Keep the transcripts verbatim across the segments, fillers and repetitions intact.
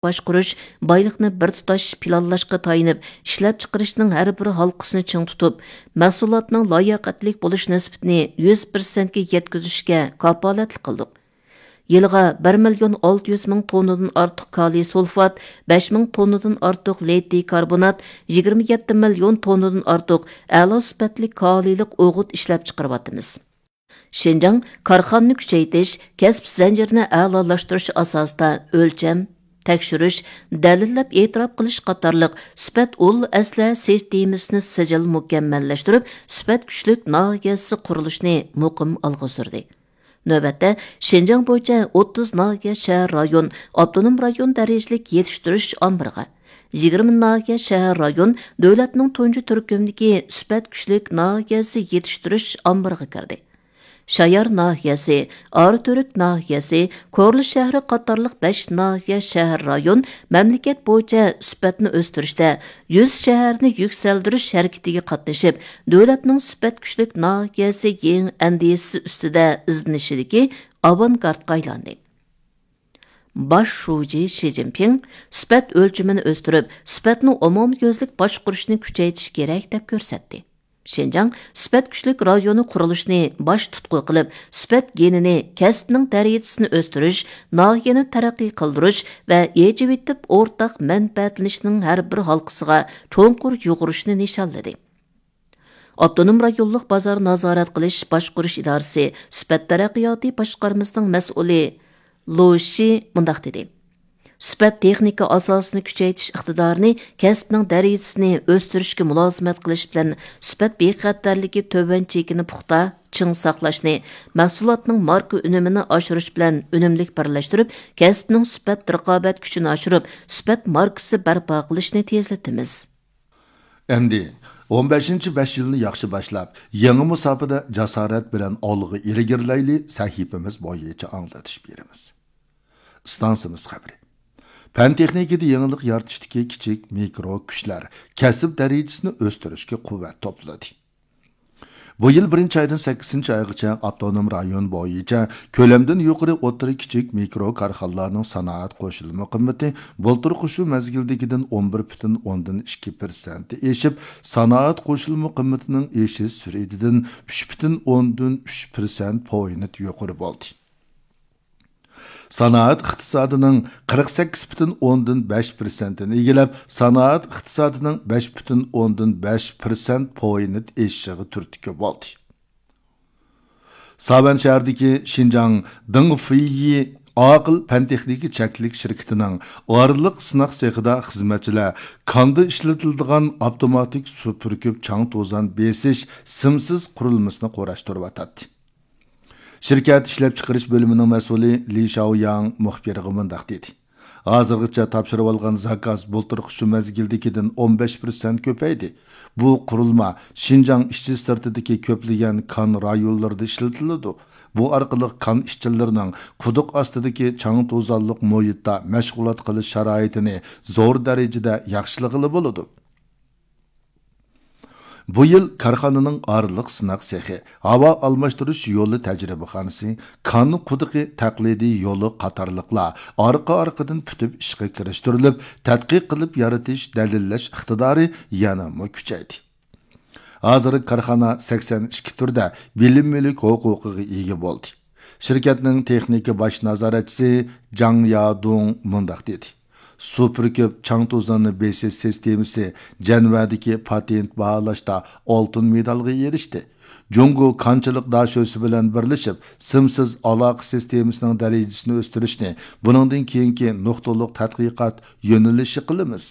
باشقۇرۇش، بايلىقنى بىر تۇتاش پىلانلاشقا تايىنىپ، ئىشلەپچىقىرىشنىڭ ھەر بىر ھالقىسىنى چىڭ تۇتۇپ، مەھسۇلاتنىڭ لاياقەتلىك بولۇش نىسبىتىنى يۈز پىرسەنتكە يەتكۈزۈشكە كاپالەتلىك قىلدۇق. يىلىغا بىر مىليون ئالتە يۈز مىڭ توننىدىن ئارتۇق كالىي سۇلفات، بەش مىڭ توننىدىن ئارتۇق لىتىي كاربونات، يىگىرمە يەتتە مىليون توننىدىن ئارتۇق ئەلا سۈپەتلىك كالىيلىق ئوغۇت ئىشلەپچىقىرىۋاتىمىز. شىنجاڭ كارخانىنى كۈچەيتىش، كەسىپ زەنجىرىنى ئەلالاشتۇرۇش ئاساسىدا ئۆلچەم، تەكشۈرۈش، دەلىللەپ ئېتىراپ قىلىش قاتارلىق سۈپەت ئۇل ئەسلىھە سىستېمىسىنى سىجىل مۇكەممەللەشتۈرۈپ، سۈپەت كۈچلۈك ناھىيەسى قۇرۇلۇشىنى مۇقىم ئالغا سۈردى. نۆۋەتتە، شىنجاڭ بويىچە ئوتتۇز ناھىيە، شەھەر، رايون، ئاپتونوم رايون دەرىجىلىك يېتىشتۈرۈش ئامبىرىغا، يىگىرمە ناھىيە، شەھەر، رايون دۆلەتنىڭ تۇنجى تۈركۈمدىكى سۈپەت كۈچلۈك ناھىيەسى يېتىشتۈرۈش ئامبىرىغا كىردى. شايار ناھىيەسى، ئاراتۈرك ناھىيەسى، كورلا شەھىرى قاتارلىق بەش ناھىيە، شەھەر، رايون مەملىكەت بويىچە سۈپەتنى ئۆستۈرۈشتە يۈز شەھەرنى يۈكسەلدۈرۈش ھەرىكىتىگە قاتنىشىپ، دۆلەتنىڭ سۈپەت كۈچلۈك ناھىيەسى يېڭى ئەندىزىسى ئۈستىدە ئىزدىنىشىدىكى ئاۋانگارتقا ئايلاندى. باش شۇجى شى جىنپىڭ سۈپەت ئۆلچىمىنى ئۆستۈرۈپ، سۈپەتنىڭ ئومۇميۈزلۈك باشقۇرۇشىنى كۈچەيتىش كېرەك، دەپ كۆرسەتتى. شىنجاڭ سۈپەت كۈچلۈك رايونى قۇرۇلۇشىنى باش تۇتقا قىلىپ، سۈپەت گېنىنى، كەسىپنىڭ دەرىجىسىنى ئۆستۈرۈش، ناھىيەنى تەرەققىي قىلدۇرۇش ۋە ئېچىۋېتىپ ئورتاق مەنپەئەتلىنىشنىڭ ھەر بىر ھالقىسىغا چوڭقۇر يۇغۇرۇشنى نىشانلىدى. ئاپتونوم رايونلۇق بازار نازارەت قىلىش باشقۇرۇش ئىدارىسى سۈپەت تەرەققىياتى باشقارمىسىنىڭ مەسئۇلى لو شى مۇنداق دېدى: سۈپەت تېخنىكا ئاساسىنى كۈچەيتىش ئىقتىدارىنى، كەسىپنىڭ دەرىجىسىنى ئۆستۈرۈشكە مۇلازىمەت قىلىش بىلەن سۈپەت بىخەتەرلىكى تۆۋەن چېكىنى پۇختا، چىڭ ساقلاشنى، مەھسۇلاتنىڭ ماركا ئۈنۈمىنى ئاشۇرۇش بىلەن ئۈنۈملۈك بىرلەشتۈرۈپ، كەسىپنىڭ سۈپەت رىقابەت كۈچىنى ئاشۇرۇپ، سۈپەت ماركىسى بەرپا قىلىشنى تېزلىتىمىز. ئەمدى ئون بەشىنچى بەش يىلنى ياخشى باشلاپ، يېڭى مۇساپىدە جاسارەت بىلەن ئالغا ئىلگىرىلەيلى سەھىپىمىز بويىچە ئاڭلىتىش بېرىمىز. ئىستانسىمىز خەۋىرى. پەن تېخنىكىدا يېڭىلىق يارىتىشتىكى كىچىك مىكرو كۈچلەر كەسىپ دەرىجىسىنى ئۆستۈرۈشكە قۇۋۋەت توپلىدى. بۇ يىل بىرىنچى ئايدىن سەككىزىنچى ئايغىچە ئاپتونوم رايون بويىچە كۆلەمدىن يۇقىرى ئوتتۇرا، كىچىك، مىكرو كارخانىلارنىڭ سانائەت قوشۇلما قىممىتى بۇلتۇرقى شۇ مەزگىلدىكىدىن ئون بىر پۈتۈن ئوندىن ئىككى پىرسەنت ئېشىپ، سانائەت قوشۇلما قىممىتىنىڭ ئېشىش سۈرئىتىدىن ئۈچ پۈتۈن ئوندىن ئۈچ پىرسەنت پوينت يۇقىرى بولدى. سانائەت ئىقتىسادىنىڭ قىرىق سەككىز پۈتۈن ئوندىن بەش پىرسەنتىنى ئىگىلەپ، سانائەت ئىقتىسادىنىڭ بەش پۈتۈن ئوندىن بەش پىرسەنت پوينت ئېشىشىغا تۈرتكە بولدى. ساۋەن شەھىرىدىكى شىنجاڭ دېڭ فېيى ئاقىل پەن تېخنىكا چەكلىك شىركىتىنىڭ ئارىلىق سىناق سېخىدا خىزمەتچىلەر كاندا ئىشلىتىلىدىغان ئاپتوماتىك سۇ پۈركۈپ چاڭ توزان بېسىش سىمسىز قۇرۇلمىسىنى قۇراشتۇرۇۋاتاتتى. شىركەت ئىشلەپچىقىرىش بۆلۈمىنىڭ مەسئۇلى لى شاۋياڭ مۇخبىرغا مۇنداق دېدى: ھازىرغىچە تاپشۇرۇۋالغان زاكاز بۇلتۇرقى شۇ مەزگىلدىكىدىن ئون بەش پىرسەنت كۆپەيدى. بۇ قۇرۇلما شىنجاڭ ئىچى سىرتىدىكى كۆپلىگەن كان رايونلىرىدا ئىشلىتىلىدۇ. بۇ ئارقىلىق كان ئىشچىلىرىنىڭ قۇدۇق ئاستىدىكى چاڭ توزانلىق مۇھىتتا مەشغۇلات قىلىش شارائىتىنى زور دەرىجىدە ياخشىلىغىلى بولىدۇ. بۇ يىل كارخانىنىڭ ئارىلىق سىناق سېخى، ھاۋا ئالماشتۇرۇش يولى تەجرىبىخانىسى، كان قۇدۇقى تەقلىدىي يولى قاتارلىقلار ئارقا-ئارقىدىن پۈتۈپ ئىشقا كىرىشتۈرۈلۈپ، تەتقىق قىلىپ يارىتىش، دەلىللەش ئىقتىدارى يەنىمۇ كۈچەيدى. ھازىر كارخانا سەكسەن ئىككى تۈردە بىلىم مۈلۈك ھوقۇقىغا ئىگە بولدى. شىركەتنىڭ تېخنىكا باش نازارەتچىسى جاڭ يادۇڭ مۇنداق دېدى: سۇ پۈركۈپ چاڭ توزاننى بېسىش سىستېمىسى جەنۋەدىكى پاتېنت باھالاشتا ئالتۇن مېدالغا ئېرىشتى. جۇڭگو كانچىلىق داشۆسى بىلەن بىرلىشىپ، سىمسىز ئالاقە سىستېمىسىنىڭ دەرىجىسىنى ئۆستۈرۈشنى بۇنىڭدىن كېيىنكى نۇقتىلىق تەتقىقات يۆنىلىشى قىلىمىز.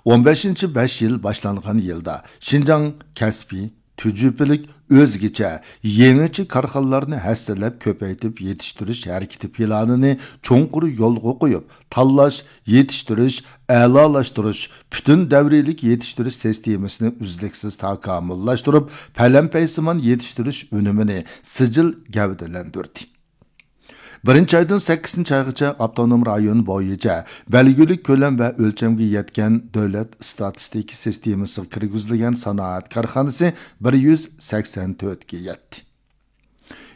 ئون بەشىنچى بەش يىل باشلانغان يىلدا شىنجاڭ كەسپىي، تۈجۈپىلىك، ئۆزگىچە، يېڭىچە كارخانىلارنى ھەسسىلەپ كۆپەيتىپ يېتىشتۈرۈش ھەرىكىتى پىلانىنى چوڭقۇر يولغا قويۇپ، تاللاش، يېتىشتۈرۈش، ئەلالاشتۇرۇش، پۈتۈن دەۋرىيلىك يېتىشتۈرۈش سىستېمىسىنى ئۈزلۈكسىز تاكامۇللاشتۇرۇپ، پەلەمپەيسىمان يېتىشتۈرۈش ئۈنۈمىنى سىجىل گەۋدىلەندۈردى. بىرىنچى ئايدىن سەككىزىنچى ئايغىچە ئاپتونوم رايون بويىچە بەلگىلىك كۆلەم ۋە ئۆلچەمگە يەتكەن دۆلەت ئىستاتىستىكا سىستېمىسىغا كىرگۈزۈلگەن سانائەت كارخانىسى بىر يۈز سەكسەن تۆتكە يەتتى.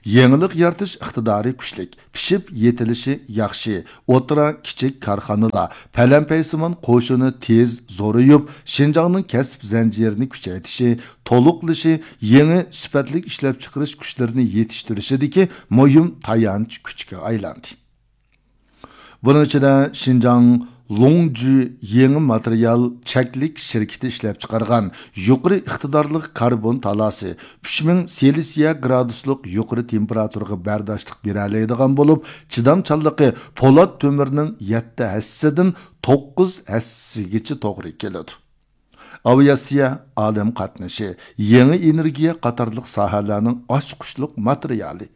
يېڭىلىق يارىتىش ئىقتىدارى كۈچلۈك، پىشىپ يېتىلىشى ياخشى، ئوتتۇرا، كىچىك كارخانىلار، پەلەمپەيسىمان قوشۇنى تېز زورىيىپ، شىنجاڭنىڭ كەسىپ زەنجىرىنى كۈچەيتىشى، تولۇقلىشى، يېڭى سۈپەتلىك ئىشلەپچىقىرىش كۈچلىرىنى يېتىشتۈرۈشىدىكى مۇھىم تايانچ كۈچكە ئايلاندى. بۇنىڭ ئىچىدە شىنجاڭ لوڭجۈ يېڭى ماتېرىيال چەكلىك شىركىتى ئىشلەپچىقارغان يۇقىرى ئىقتىدارلىق كاربون تالاسى، ئۈچ مىڭ سېلسىيە گرادۇسلۇق يۇقىرى تېمپېراتۇرىغا بەرداشلىق بېرەلەيدىغان بولۇپ، چىدامچانلىقى پولات تۆمۈرنىڭ يەتتە ھەسسىدىن توققۇز ھەسسىگىچە توغرا كېلىدۇ. ئاۋىئاتسىيە، ئالەم قاتنىشى، يېڭى ئېنېرگىيە قاتارلىق ساھەلەرنىڭ ئاچقۇچلۇق ماتېرىيالى.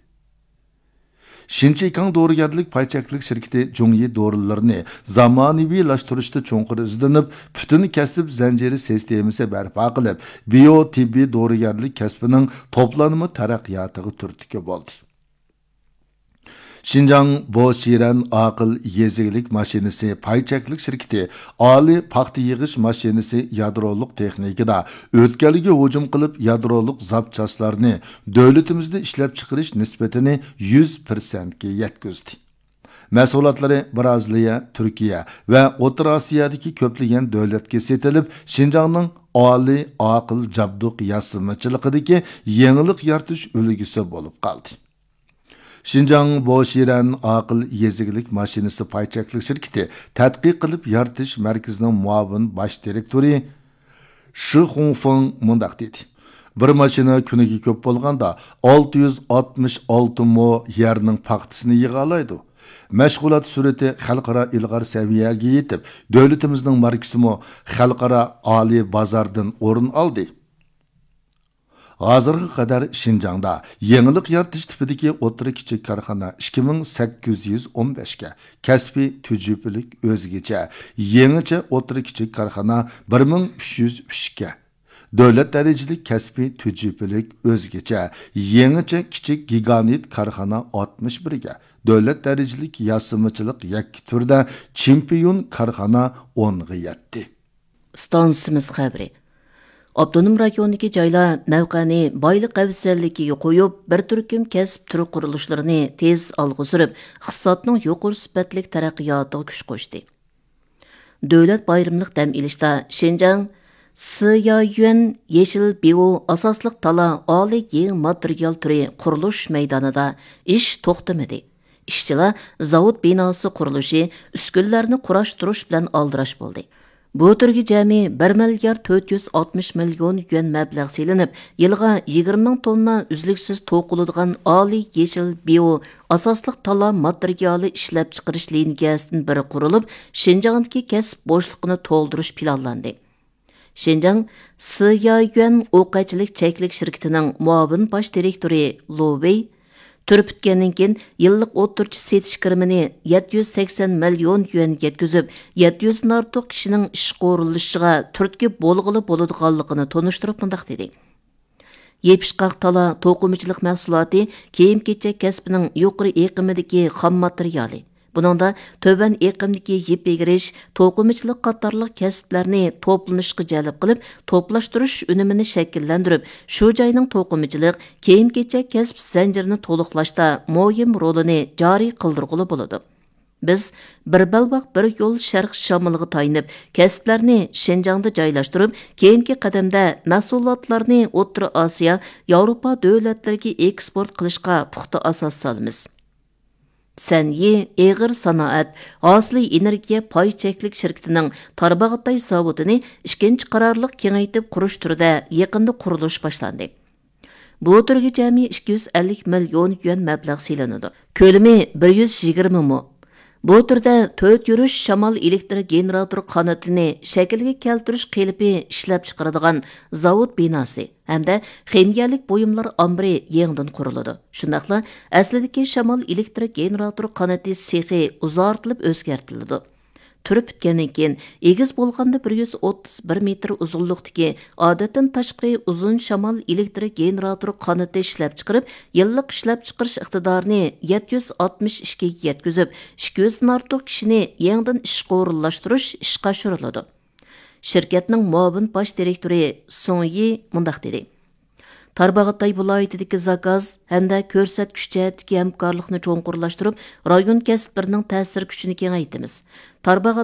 شىنچىكاڭ دورىگەرلىك پاي چەكلىك شىركىتى جۇڭيى دورىلىرىنى زامانىۋىلاشتۇرۇشتا چوڭقۇر ئىزدىنىپ، پۈتۈن كەسىپ زەنجىرى سىستېمىسى بەرپا قىلىپ، بىيو تېببىي دورىگەرلىك كەسپىنىڭ توپلانما تەرەققىياتىغا تۈرتكە بولدى. شىنجاڭ بوشىرەن ئاقىل يېزا ئىگىلىك ماشىنىسى پاي چەكلىك شىركىتى ئالىي پاختا يىغىش ماشىنىسى يادرولۇق تېخنىكىدا ئۆتكەلگە ھۇجۇم قىلىپ، يادرولۇق زاپچاسلارنى دۆلىتىمىزدە ئىشلەپچىقىرىش نىسبىتىنى يۈز پىرسەنتكە يەتكۈزدى. مەھسۇلاتلىرى بىرازىلىيە، تۈركىيە ۋە ئوتتۇرا ئاسىيادىكى كۆپلىگەن دۆلەتكە سېتىلىپ، شىنجاڭنىڭ ئالىي ئاقىل جابدۇق ياسىمىچىلىقىدىكى يېڭىلىق يارىتىش ئۈلگىسى بولۇپ قالدى. شىنجاڭ بوشىرەن ئاقىل يېزا ئىگىلىك ماشىنىسى پاي چەكلىك شىركىتى تەتقىق قىلىپ يارىتىش مەركىزىنىڭ مۇئاۋىن باش دىرېكتورى شى خۇڭفېڭ مۇنداق دېدى: «بىر ماشىنا كۈنىگە كۆپ بولغاندا ئالتە يۈز ئاتمىش ئالتە مو يەرنىڭ پاختىسىنى يىغالايدۇ. مەشغۇلات سۈرئىتى خەلقئارا ئىلغار سەۋىيەگە يېتىپ، دۆلىتىمىزنىڭ ماركىسىمۇ خەلقئارا ئالىي بازاردىن ئورۇن ئالدى.» ھازىرغا قەدەر شىنجاڭدا يېڭىلىق يارىتىش تىپىدىكى ئوتتۇرا، كىچىك كارخانا ئىككى مىڭ سەككىز يۈز ئون بەشكە، كەسپىي تۈجۈپىلىك ئۆزگىچە يېڭىچە ئوتتۇرا، كىچىك كارخانا بىر مىڭ ئۈچ يۈز ئۈچكە، دۆلەت دەرىجىلىك كەسپىي تۈجۈپىلىك ئۆزگىچە يېڭىچە كىچىك گىگانت كارخانا ئاتمىش بىرگە، دۆلەت دەرىجىلىك ياسىمىچىلىق يەككە تۈردە چېمپىيون كارخانا ئونغا يەتتى. ئىستانسىمىز خەۋىرى. ئاپتونوم رايوندىكى جايلار مەۋقەنى بايلىق ئەۋزەللىكىگە قويۇپ، بىر تۈركۈم كەسىپ تۈرى قۇرۇلۇشلىرىنى تېز ئالغا سۈرۈپ، ئىقتىسادنىڭ يۇقىرى سۈپەتلىك تەرەققىياتىغا كۈچ قوشتى. دۆلەت بايرىملىق دەم ئېلىشتا شىنجاڭ سىيايۈەن يېشىل بىئو ئاساسلىق تالا ئالىي يېڭى ماتېرىيال تۈرى قۇرۇلۇش مەيدانىدا ئىش توختىمىدى. ئىشچىلار زاۋۇت بىناسى قۇرۇلۇشى، ئۈسكۈنىلەرنى قۇراشتۇرۇش بىلەن ئالدىراش بولدى. بۇ تۈرگە جەمئىي بىر مىليارد تۆت يۈز ئاتمىش مىليون يۈەن مەبلەغ سېلىنىپ، يىلىغا يىگىرمە مىڭ توننا ئۈزلۈكسىز توقۇلىدىغان ئالىي يېشىل بىئو ئاساسلىق تالا ماتېرىيالى ئىشلەپچىقىرىش لىنىيەسىدىن بىرى قۇرۇلۇپ، شىنجاڭدىكى كەسىپ بوشلۇقىنى تولدۇرۇش پىلانلاندى. شىنجاڭ سىيايۈەن ئوقەتچىلىك چەكلىك شىركىتىنىڭ مۇئاۋىن باش دىرېكتورى لو ۋېي تۈر پۈتكەندىن كېيىن، يىللىق ئوتتۇرىچە سېتىش كىرىمىنى يەتتە يۈز سەكسەن مىليون يۈەن يەتكۈزۈپ، يەتتە يۈزدىن ئارتۇق كىشىنىڭ ئىشقا ئورۇنلىشىشىغا تۈرتكە بولغىلى بولىدىغانلىقىنى تونۇشتۇرۇپ مۇنداق دېدى: «يېپىشقاق تالا توقۇمىچىلىق مەھسۇلاتى كىيىم-كېچەك كەسپىنىڭ يۇقىرى ئېقىمىدىكى خام ماتېرىيالى. بۇنىڭدا تۆۋەن ئېقىمدىكى يىپ ئېگىرىش، توقۇمىچىلىق قاتارلىق كەسىپلەرنى توپلىنىشقا جەلپ قىلىپ، توپلاشتۇرۇش ئۈنۈمىنى شەكىللەندۈرۈپ، شۇ جاينىڭ توقۇمىچىلىق، كىيىم-كېچەك كەسىپ زەنجىرىنى تولۇقلاشتا مۇھىم رولىنى جارى قىلدۇرغىلى بولىدۇ. بىز بىر بەلباغ، بىر يول شەرق شامىلىغا تايىنىپ، كەسىپلەرنى شىنجاڭدا جايلاشتۇرۇپ، كېيىنكى قەدەمدە مەھسۇلاتلارنى ئوتتۇرا ئاسىيا، ياۋروپا دۆلەتلىرىگە ئېكسپورت قىلىشقا پۇختا ئاساس سالىمىز.» سەنئى ئېغىر سانائەت ھاسىلى ئېنېرگىيە پاي چەكلىك شىركىتىنىڭ تارباغاتاي زاۋۇتىنى ئىككىنچى قارارلىق كېڭەيتىپ قۇرۇش تۈرىدە يېقىندا قۇرۇلۇش باشلاندى. بۇ تۈرگە جەمئىي ئىككى يۈز ئەللىك مىليون يۈەن مەبلەغ سېلىنىدۇ. كۆلىمى بىر يۈز يىگىرمە مو. بۇ تۈردە تۆت يۈرۈش شامال ئېلېكتر گېنېراتور قانىتىنى شەكىلگە كەلتۈرۈش قېلىپى ئىشلەپچىقىرىدىغان زاۋۇت بىناسى ھەمدە خىمىيەلىك بۇيۇملار ئامبىرى يېڭىدىن قۇرۇلىدۇ. شۇنداقلا ئەسلىدىكى شامال ئېلېكتر گېنېراتور قانىتى سېخى ئۇزارتىلىپ ئۆزگەرتىلىدۇ. تۈر پۈتكەندىن كېيىن، ئېگىز بولغاندا بىر يۈز ئوتتۇز بىر مېتىر ئۇزۇنلۇقتىكى، ئادەتتىن تاشقىرى ئۇزۇن شامال ئېلېكتر گېنېراتور قانىتى ئىشلەپچىقىرىپ، يىللىق ئىشلەپچىقىرىش ئىقتىدارىنى يەتتە يۈز ئاتمىش ئىككىگە يەتكۈزۈپ، ئىككى يۈزدىن ئارتۇق كىشىنى يېڭىدىن ئىشقا ئورۇنلاشتۇرۇش ئىشقا ئاشۇرۇلىدۇ. شىركەتنىڭ مۇئاۋىن باش دىرېكتورى سۇڭ يى مۇنداق دېدى: تارباغاتاي ۋىلايىتىدىكى زاكاز ھەمدە كۆرسەتكۈچ جەھەتتىكى ھەمكارلىقنى چوڭقۇرلاشتۇرۇپ، رايون كەسىپلىرىنىڭ تەسىر كۈچىنى كېڭەيتىمىز. تارباغاتاي